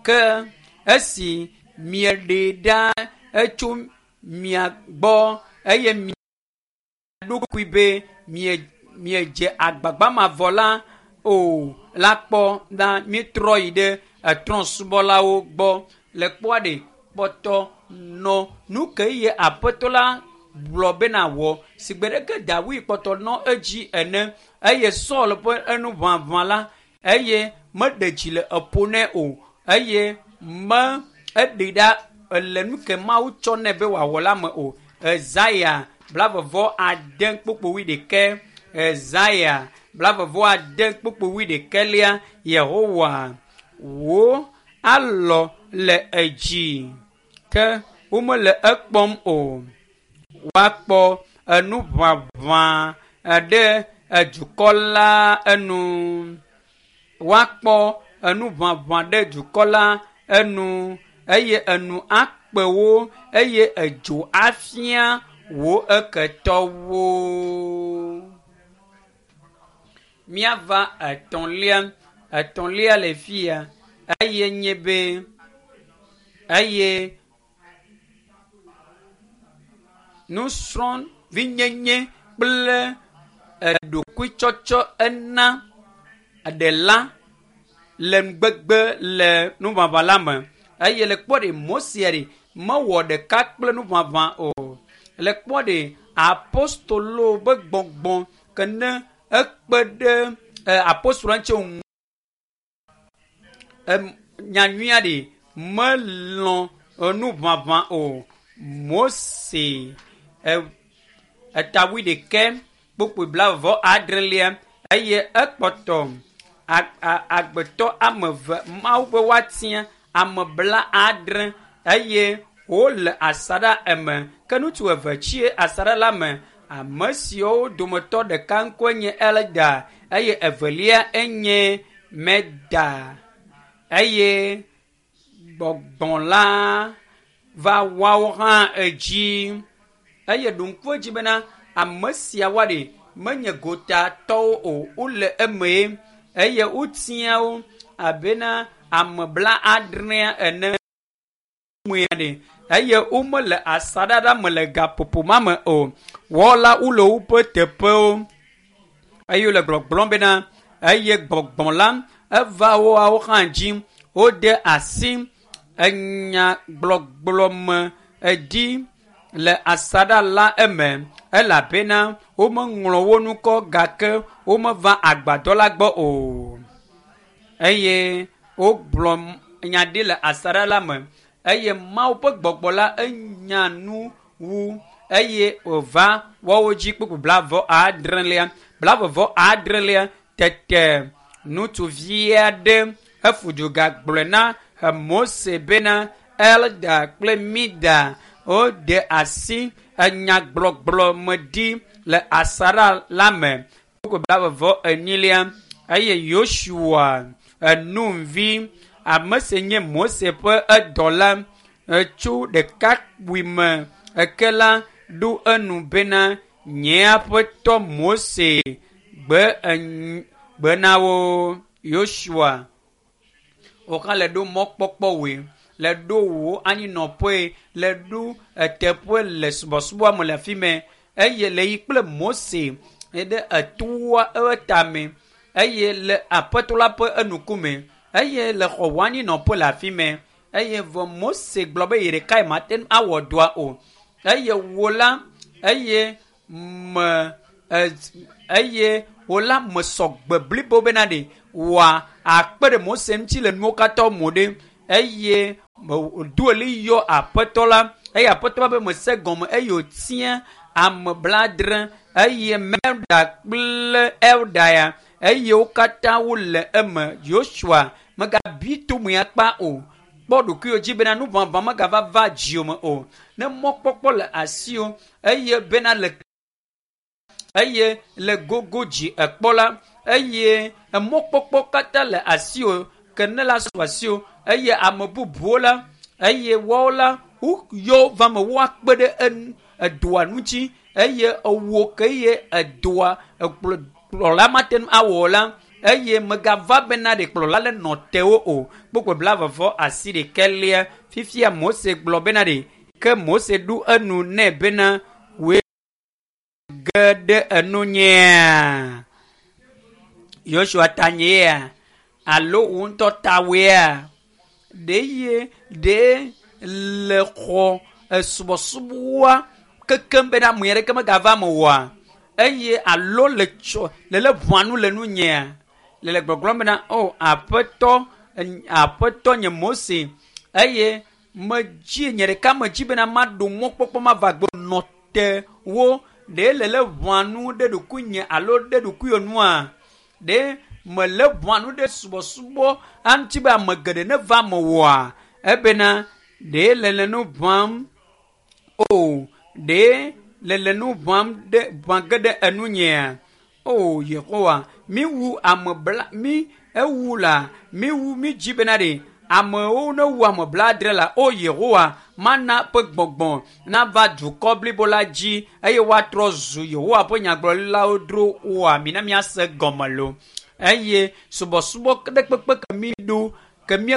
Ke esi mieɖee ɖa etso mia gbɔ eye mia ɖokui be mie miedze agbagba mavɔ la o la kpɔ la míetrɔ yi ɖe etrɔ̃subɔlawo gbɔ le kpɔa ɖe kpɔtɔ nɔ nu ke ye aƒetɔ la gblɔ bena wɔ si gbe ɖeke Dawid kpɔtɔ nɔ edzi ene eye Saul ƒe enuʋaʋã la eye meɖe dzi le eƒo nɛ o eye me eɖi ɖa ele nu ke Mawu tsɔ nɛ be wòawɔ la me o. Ezaya 96 kpukpui ɖekɛ. Ezaya 96 kpukpui ɖekɛlia Yehowa wò alɔ le edzi ke womele ekpɔm o. Woakpɔ enuʋaʋã ɖe edukɔ la enu. Woakpɔ enuʋaʋã ɖe dukɔ la enu eye enu akpe wo eye edzo afia wo eketɔwo. Míava etɔ̃lia, etɔ̃lia le fia eye nye be eye nusrɔ̃vinyenye kple eɖokuitsɔtsɔ ena ɖela le nugbegbe le nuʋaʋã la me eye le kpɔ ɖe Mose ɖe mewɔ ɖeka kple nuʋaʋã o. Le kpɔ ɖe apostolo be gbɔgbɔ ke ne ekpe ɖe apostolo ŋuti ŋu nyanyuia ɖe melɔ̃ enuʋaʋã o. Mose eta wuiɖekɛ kpukpui 36 eye ekpɔtɔ agbetɔ ame eve Mawu be woatia ame 70 eye wole asaɖa eme ke ŋutsu eve tsi asaɖa la me. Ame siwo dometɔ ɖeka ŋkɔe nye Elda eye evelia enye Meda eye gbɔgbɔ la va woawo hã edzi eye ɖo ŋku edzi bena ame siawoa ɖe menye gotatɔwo o wole eme eye wotia wo abena ame 70 ene mea ɖe eye womele asaɖa la me le gaƒoƒo ma me o. Wɔla wole woƒe teƒewo eye wole gbɔgblɔm bena eye gbɔgbɔ la eva woawo hã dzi wode asi enyagblɔgblɔ me edzi le asaɖa la eme elabena womeŋlɔ wo ŋkɔ gake womeva agbadɔ la gbɔ o eye wogblɔ nya ɖi le asaɖa la me eye Mawu ƒe gbɔgbɔ la enya nu wu eye wòva woawo dzi kpukpui 76 76 tete ŋutsuvi aɖe efu du gagblɔe na Mose bena Elda kple Mida wode asi enyagblɔgblɔ me ɖi le asaɖa la me. Kpukpui 44 eye Yosua Nun vi ame si nye Mose ƒe edɔla tso ɖekakpui me eke la ɖo enu bena nye aƒetɔ Mose gbe gbe na wo Yosua wò hã le ɖo mɔkpɔkpɔ wòe le ɖo wò anyinɔƒe le ɖo eteƒe le subɔsubɔa me le afi mɛ eye le yi kple Mose ɖe etoa eƒe tame eye le aƒetɔ la ƒe enukume eye le xɔ wò anyinɔƒe le afi mɛ eye vɔ Mose gblɔ be ye ɖekae mate ŋu awɔ dɔa o eye wò la eye me eye wò la mesɔ gbe blibo bena ɖe wòa akpe ɖe Mose ŋuti le nuwo katã mo ɖe eye do ɣli yɔ aƒetɔ la eye aƒetɔ la be mese gɔme eye wòtia ame 70 eye Melda kple Elda ya eye wo katã wole eme. Yosua megabi tome akpa o. Kpɔ ɖokuiwò dzi bena nuʋaʋã megava va dziwò me o. Ne mɔkpɔkpɔ le asiwò eye bena le eye le gogo dzi ekpɔ la eye emɔkpɔkpɔ katã le asiwò ke ne la su asiwò eye ame bubuwo la eye woawo la woyɔ va me woakpe ɖe enu edoa ŋuti eye ewò ke ye edoa ekplɔ kplɔla mate ŋu awɔ o la Eye megava bena ɖe kplɔla le nɔ tewo o. Kpukpui 28. Fifia Mose gblɔ bena ɖe ke Mose ɖu enu nɛ bena wòe ge ɖe enu nyea. Yosua ta nyea alo wò ŋutɔ tawoea. Ɖe ye ɖe le xɔ esubɔsubɔa kekem bena ame aɖeke megava me oa. Eye alo le tsɔ le le ʋua nu le nu nyea. Le gbɔgblɔm bena o aƒetɔ aƒetɔ nye Mose eye medzi nye ɖeka medzi bena maɖo mɔkpɔkpɔ mava gbɔ nɔ te wo ɖe le le ʋua nu ɖe ɖokuinye alo ɖe ɖokuiwò nua. Ɖe mele ʋua nu ɖe subɔsubɔ aŋuti be ame geɖe neva me oa. Ebena ɖe le le nu ʋãm o ɖe le le nu ʋãm ɖe ʋã ge ɖe enu nyea. O Yehowa, mi wu ame bla mi ewu la mi wu mi dzi bena ɖe amewo ne wu ame 70 la o Yehowa mana ƒe gbɔgbɔ nava dukɔ blibo la dzi eye woatrɔ zu Yehowa ƒe nyagblɔɖilawo dro oa mina miase gɔme lo. Eye subɔsubɔ ɖe kpekpe ke mi ɖo ke mi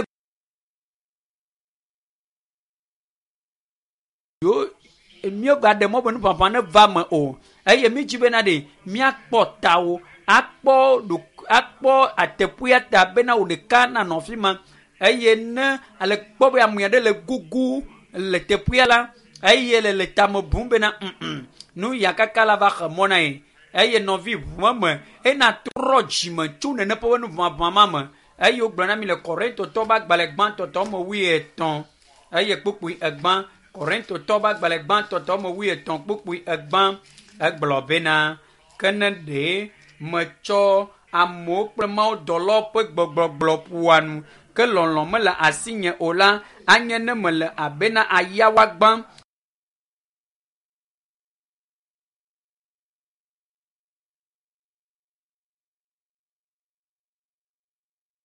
yo míegaɖe mɔ be nuʋaʋã neva me o. Eye mi dzi bena ɖe míakpɔ tawo akpɔ akpɔ ateƒea ta bena wò ɖeka nanɔ afi ma. Eye ne ale kpɔ be ame aɖe le gugu le teƒea la eye le le tame bum bena nu ya kaka la va xe mɔ na ye. Eye nɔvi ʋume me ena trɔ dzime tso nene ƒe nuʋaʋã ma me. Eye wogblɔ na mi le Korintotɔwo ƒe agbalẽ gbãtɔ tɔ me 23 eye kpukpui 1. Korintotɔwo ƒe agbalẽ gbãtɔ tɔ me 23 kpukpui 1 egblɔ bena ke ne ɖe metsɔ amewo kple mawudɔlawo ƒe gbɔgblɔgblɔ ƒoa nu ke lɔlɔ̃ mele asinye o la anye ne mele abena ayawa gbã.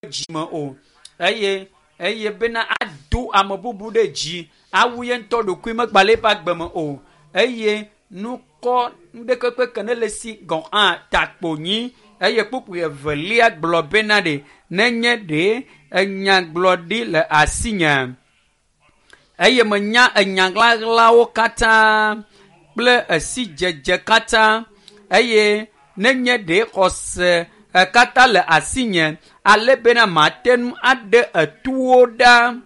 Dzime o eye eye bena ado ame bubu ɖe dzi awu ye ŋutɔ ɖokui megba le eƒe agbe me o. Eye nukɔ nuɖekpekpe ke ne le si gɔ̃ hã takpo nyi. Eye kpukpui 2 gblɔ bena ɖe nenye ɖe enyagblɔɖi le asinye eye menya enyaɣlaɣlawo katã kple esidzedze katã eye nenye ɖe xɔse katã le asinye ale bena mate ŋu aɖe etuwo ɖa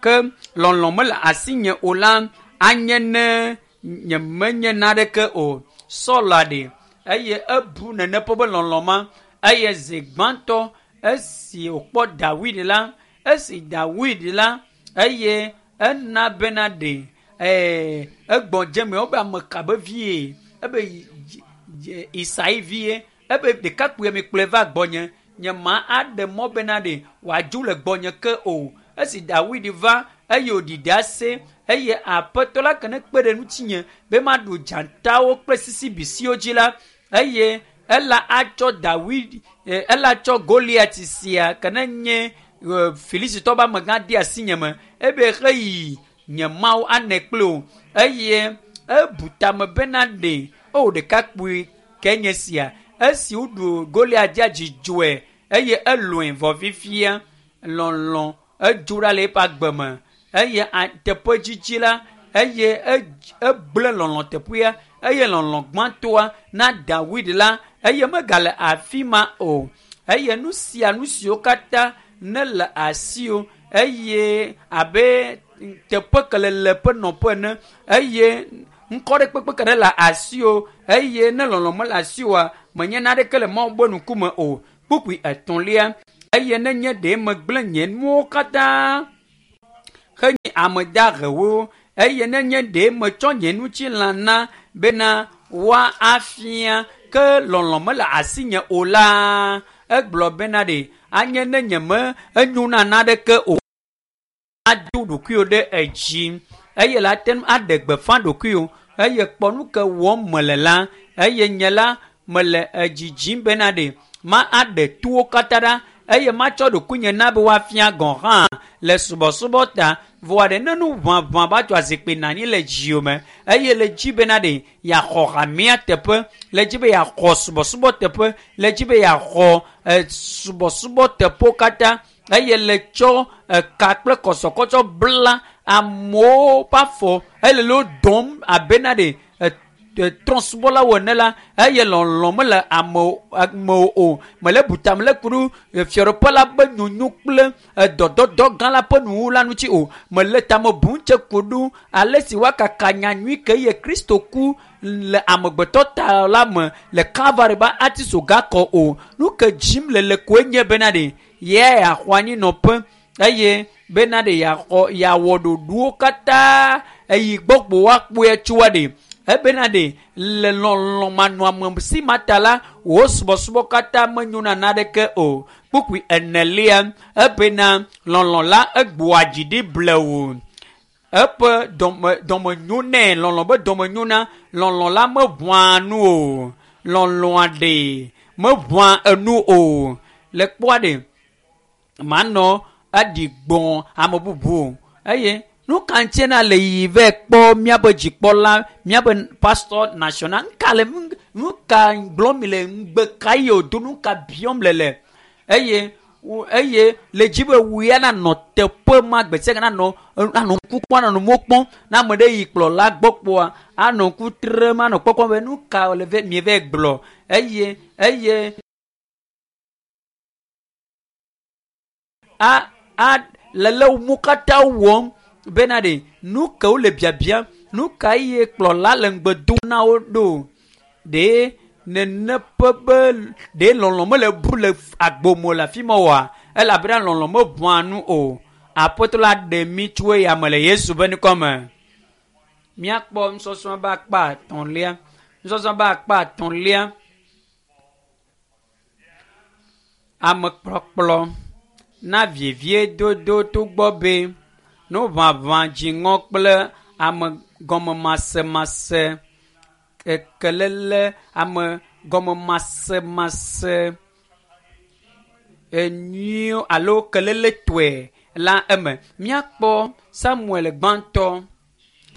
ke lɔlɔ̃ mele asinye o la anye ne nyemenye naneke o. Sɔla ɖe eye ebu nene ƒe be lɔlɔ̃ ma eye zi gbãtɔ esi wòkpɔ Dawid la esi Dawid la eye ena bena ɖe egbɔ dze me wobe ame ka be vie ebe Isai vie ebe ɖekakpuia mi kplɔe va gbɔnye nye ma aɖe mɔ bena ɖe wòadzo le gbɔnye ke o. Esi Dawid va eye wòɖi ɖase eye aƒetɔ la ke ne kpe ɖe ŋutinye be maɖu dzatawo kple sisibisiwo dzi la eye ela atsɔ Dawid ela tsɔ Goliat sia ke ne nye Filistitɔ ƒe amegã de asinye me ebe xeyi nye Mawu anɛ kpli o. Eye ebu tame bena ɖe o ɖekakpui ke nye sia esi woɖu Goliat dzia dzidzɔe eye elɔ̃e vɔ fifia lɔlɔ̃ edzo ɖa le eƒe agbe me eye teƒe dzidzi la eye egblẽ lɔlɔ̃ teƒea eye lɔlɔ̃ gbãtɔa na Dawid la eye megale afi ma o. Eye nu sia nu siwo katã ne le asiwò eye abe teƒe ke le le ƒe nɔƒe ene eye ŋkɔ ɖe kpekpe ke ne le asiwò eye ne lɔlɔ̃ mele asiwòa menye naneke le Mawu ƒe ŋkume o. Kpukpui 3 eye nenye ɖe megblẽ nye nuwo katã henyi ame dahewo eye nenye ɖe metsɔ nye ŋutilã na bena woafia ke lɔlɔ̃ mele asinye o la egblɔ bena ɖe anye ne nye me enyo na naneke o. Ado ɖokuiwò ɖe edzi eye la te ŋu aɖe gbeƒã ɖokuiwò eye kpɔ nu ke wɔm mele la eye nye la mele edzidzim bena ɖe ma aɖe towo katã ɖa. eye matsɔ ɖokuinye na be woafia gɔ̃ hã le subɔsubɔ ta. Vɔa ɖe ne nu ʋaʋã va tso azikpui nɔ anyi le dziwò me eye le dzi bena ɖe yeaxɔ hamea teƒe, le dzi be yeaxɔ subɔsubɔ teƒe, le dzi be yeaxɔ subɔsubɔ teƒewo katã eye le tsɔ eka kple kɔsɔkɔsɔ bla amewo ƒe afɔ eye le wo dɔm abena ɖe trɔ̃subɔlawo ene la, eye lɔlɔ̃ mele amewo o. Mele butam le ku ɖo fiaɖuƒe la ƒe nyonyo kple dɔdɔdɔ gã la ƒe nuwuwu la ŋuti o. Mele tame bum tse ku ɖo ale si woakaka nyanyui ke ye Kristo ku le amegbetɔ ta la me le Kalvari be atisoga kɔ o. Nu ke dzim le le koe nye bena ɖe ye yeaxɔ anyinɔƒe eye bena ɖe yeaxɔ yeawɔ ɖoɖowo katã eyi gbɔgbo woakpɔe tsoa ɖe. Ebena ɖe le lɔlɔ̃ manɔame si ma ta la, wò subɔsubɔ katã menyona naneke o. Kpukpui enelia, ebena lɔlɔ̃ la egbɔa dzi ɖi blewu. Eƒe dɔmenyo nɛ, lɔlɔ̃ be dɔmenyo na, lɔlɔ̃ la meʋãa nu o. Lɔlɔ̃a ɖe meʋãa enu o. Le kpɔa ɖe, manɔ aɖi gbɔ̃ ame bubu o. Eye nu ka ŋutie na le yiyi vɛ kpɔ míaƒe dzikpɔla, míaƒe pastor national, nu le nu ka gblɔm mi le, ŋugbe ka ye wòdo, nu ka biɔm le le. Eye eye le dzi be wòya nanɔ teƒe ma gbe sia gbe nanɔ anɔ ŋku kpɔm, anɔ mo kpɔm. Ne ame ɖe yi kplɔla gbɔ kpoa, anɔ ŋku trem, anɔ kpɔkpɔm be nu ka le vɛ mievɛ gblɔ. Eye eye a a le le wo katã wɔm bena ɖe nu ke wole biabiam, nu ka ye kplɔla le ŋugbe dom na wo ɖo. Ɖe nene ƒe be ɖe lɔlɔ̃ mele bu le agbome le afi ma oa? Elabena lɔlɔ̃ meʋãa nu o. Aƒetɔ la ɖe mí tso eya me le Yesu ƒe ŋkɔ me. Míakpɔ nusɔsrɔ̃ be akpa etɔ̃lia. Nusɔsrɔ̃ be akpa etɔ̃lia. Amekplɔkplɔ na veviedodo togbɔ be nuʋaʋã dziŋɔ kple ame gɔmemasemase kelele ame gɔmemasemase enyuiwo alo keleletɔe la eme. Míakpɔ Samuel gbãtɔ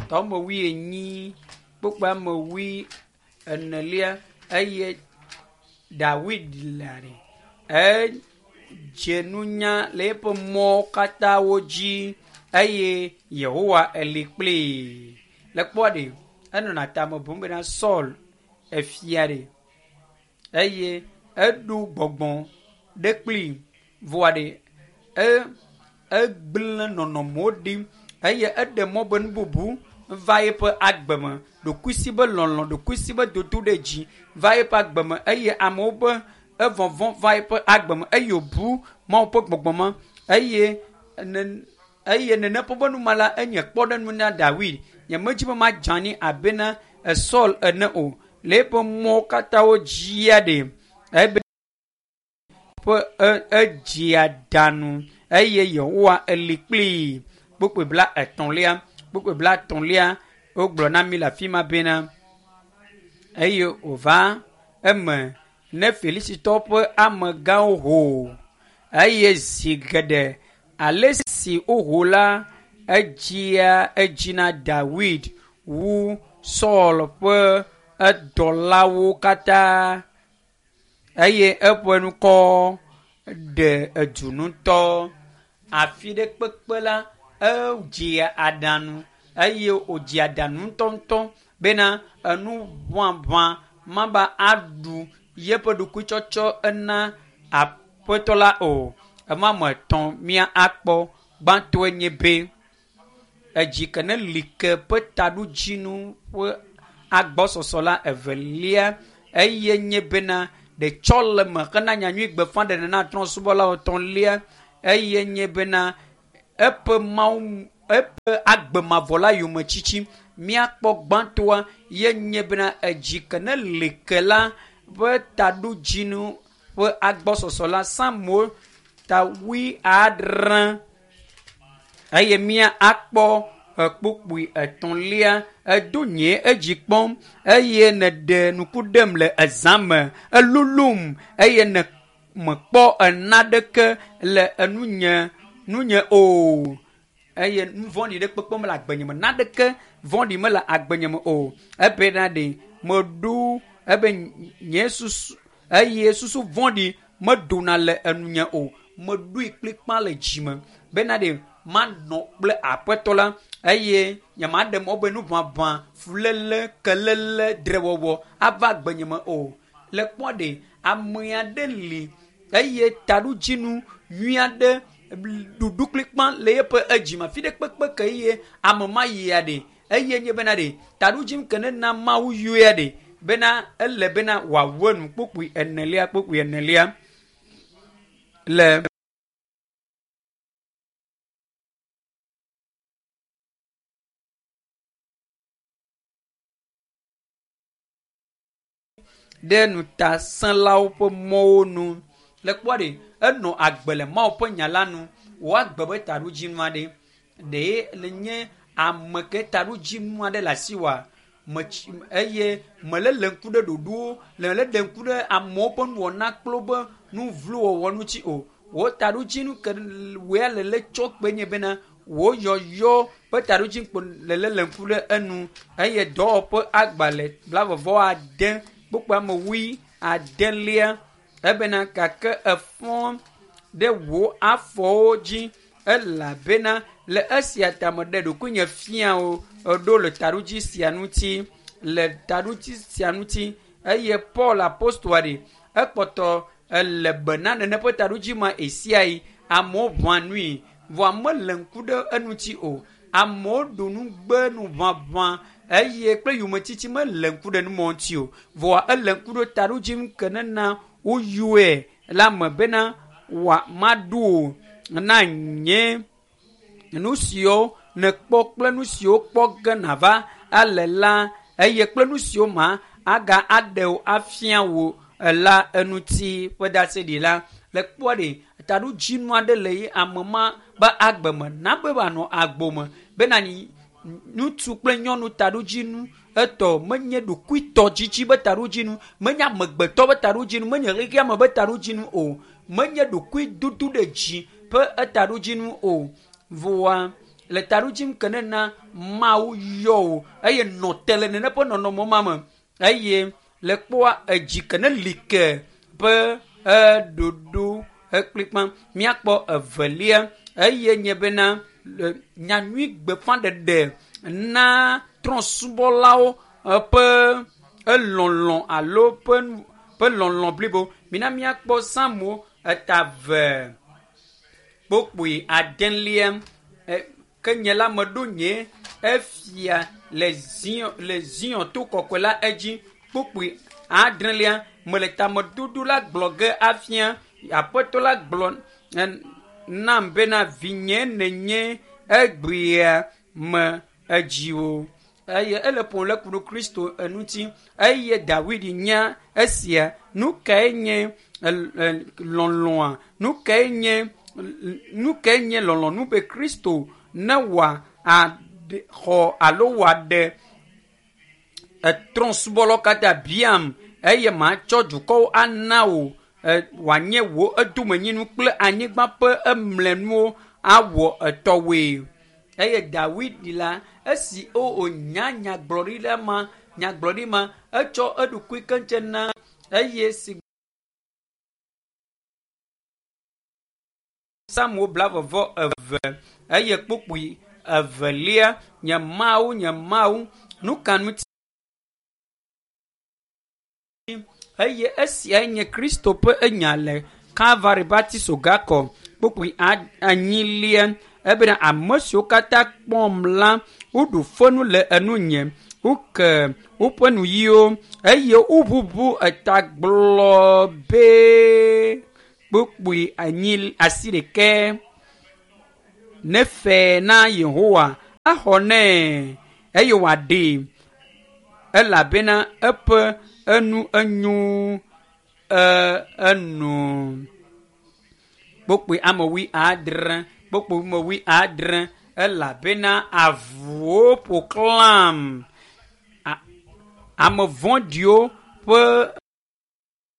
tɔme wuienyi kpukpui ame wui enelia eye Dawid la ɖe edze nunya le eƒe mɔwo katã wo dzi eye Yehowa eli kplii. Le kpɔa ɖe enɔna tame bum bena Saul efia ɖe eye eɖo gbɔgbɔ ɖe kplii vɔa ɖe egblẽ nɔnɔmewo ɖi eye eɖe mɔ be nu bubu va eƒe agbe me. Ɖokuisi be lɔlɔ̃, ɖokuisi be dodo ɖe dzi va eƒe agbe me eye amewo be evɔvɔ̃ va eƒe agbe me eye wòbu Mawu ƒe gbɔgbɔ ma eye eye nene ƒe be numa la enye kpɔɖeŋu na Dawid. Nyemedzi be madze anyi abena Saul ene o. Le eƒe mɔwo katã wo dzia ɖe ebe ƒe edzia danu eye Yehowa eli kplii. Kpukpui bla etɔ̃lia, kpukpui bla etɔ̃lia wogblɔ na mí le afi ma bena eye wòva eme ne Filistitɔwo ƒe amegãwo ho eye zi geɖe ale si woho la edzia edzi na Dawid wu Saul ƒe edɔlawo katã eye eƒe ŋkɔ ɖe edu ŋutɔ. Afi ɖe kpekpe la edzia aɖaŋu eye wòdzia aɖaŋu ŋutɔŋutɔ bena enu ʋaʋã mava aɖu yeƒe ɖokuitsɔtsɔ ena aƒetɔ la o. Ema me etɔ̃ mía akpɔ. Gbãtɔe nye be edzi ke ne li ke ƒe taɖodzinu ƒe agbɔsɔsɔ la. Evelia eye nye bena ɖetsɔleme hena nyanyui gbeƒãɖeɖe na trɔ̃subɔlawo. Etɔ̃lia eye nye bena eƒe Mawu eƒe agbe mavɔ la yometsitsi. Míakpɔ gbãtɔa ye nye bena edzi ke ne li ke la ƒe taɖodzinu ƒe agbɔsɔsɔ la. Psalmo ta wui adre eye mía akpɔ kpukpui etɔ̃lia. Edo nye edzi kpɔm eye nèɖe nuku ɖem le ezã me. Elulum eye ne mekpɔ enaɖeke le enunye nunye o eye nu vɔ̃ɖi ɖe kpekpe mele agbenye me naɖeke vɔ̃ɖi mele agbenye me o ebena ɖe meɖo ebe nye susu eye susu vɔ̃ɖi medona le enunye o meɖoe kplikpa le dzime bena ɖe manɔ kple aƒetɔ la eye nyemaɖe mɔ be nuʋaʋã fuléle kelele drewɔwɔ ava agbenye me o le kpɔ ɖe ame aɖe li eye taɖodzinu nyui aɖe ɖuɖu kplikpa le eƒe edzime afi ɖe kpekpe ke eye ame ma yia ɖe eye nye bena ɖe taɖodzinu ke ne na mawu yɔea ɖe bena ele bena wòawu enu kpukpui enelia kpukpui enelia le ɖe ŋutasẽlawo ƒe mɔwo nu le kpɔ ɖe enɔ agbe le mawu ƒe nya la nu wòagbe be taɖodzinu aɖe ɖe le nye ame ke taɖodzinu aɖe le asi wa metsi eye mele le ŋku ɖe ɖoɖowo le le ɖe ŋku ɖe amewo ƒe nuwɔna kple woƒe nu vlo wɔwɔ ŋuti o wò taɖodzinu ke wòya le le tsɔ kpe nye bena wò yɔyɔ ƒe taɖodzinu kpo le le le ŋku ɖe enu eye dɔwɔƒe agbalẽ blavɔvɔ ade kpukpu ame wui adelia ebena gake efɔ ɖe wò afɔwo dzi elabena le esia ta meɖe ɖokuinye fia wo ɖo le taɖodzi sia ŋuti le taɖodzi sia ŋuti eye paul apostoa ɖe ekpɔtɔ ele be na nene ƒe taɖodzi ma esia yi amewo ʋã nui vɔa mele ŋku ɖe eŋuti o amewo ɖu nu gbe nu ʋaʋã eye kple yometiti mele ŋku ɖe numɔ ŋuti o vɔa ele ŋku ɖe taɖodzi ke nena woyɔe la me bena wòa maɖu o na nye nu siwo nèkpɔ kple nu siwo kpɔ ge nàva ale la eye kple nu siwo ma aga aɖe wò afia wò la eŋuti ƒe ɖaseɖi la le kpɔ ɖe taɖodzinu aɖe le ye ame ma be agbe me na be wòanɔ agbo me bena ŋutsu kple nyɔnu taɖodzinu etɔ menye ɖokuitɔ dzidzi be taɖodzinu menye amegbetɔ be taɖodzinu menye xexeame be taɖodzinu o menye ɖokuidodo ɖe dzi ƒe etaɖodzinu o voa le taɖodzinu ke ne na mawu yɔ o eye nɔ te le nene ƒe nɔnɔme ma me eye le kpɔa edzi ke ne li ke ƒe eɖoɖo ekplikpa míakpɔ evelia eye nye bena nyanyui gbeƒãɖeɖe na trɔ̃subɔlawo ƒe elɔlɔ alo ƒe ƒe lɔlɔ blibo mina míakpɔ samu eta ve kpokpoe adelia ke nye la meɖo nye efia le zion le zion to kɔkɔe la edzi kpokpoe adrelia mele tamedodo la gblɔ ge afia aƒetɔ la gblɔ nam bena vinye nenye egbea me edziwo eye ele ƒom le ku ɖo kristo eŋuti eye dawid nya esia nu kae nye lɔlɔa nu kae nye nu kae nye lɔlɔnu be kristo ne wòa xɔ alo wòaɖe etrɔ̃subɔlawo katã biam eye matsɔ dukɔwo ana wò wòanye wò edomenyinu kple anyigba ƒe emlenuwo awɔ etɔwoe eye dawid la esi wònya nyagblɔɖi la ma nyagblɔɖi ma etsɔ eɖokui keŋtse na eye si samuel blavɔvɔ eve eye kpukpui evelia nye mawu nye mawu nu ka ŋuti eye esiae nye kristo ƒe enya le kalvari batiso gakɔ kpukpui enyilia ebena ame siwo katã kpɔm la woɖu fenu le enunye woke woƒe nuyiwo eye woʋuʋu eta gblɔ be kpukpui anyi asi ɖekɛ nefe na yehowa axɔ nɛ eye wòaɖee elabena eƒe enu enyo enu kpokpoe ame wui adre kpokpoe ame wui adre elabena avuwo ƒo xlãm ame vɔ̃ɖiwo ƒe.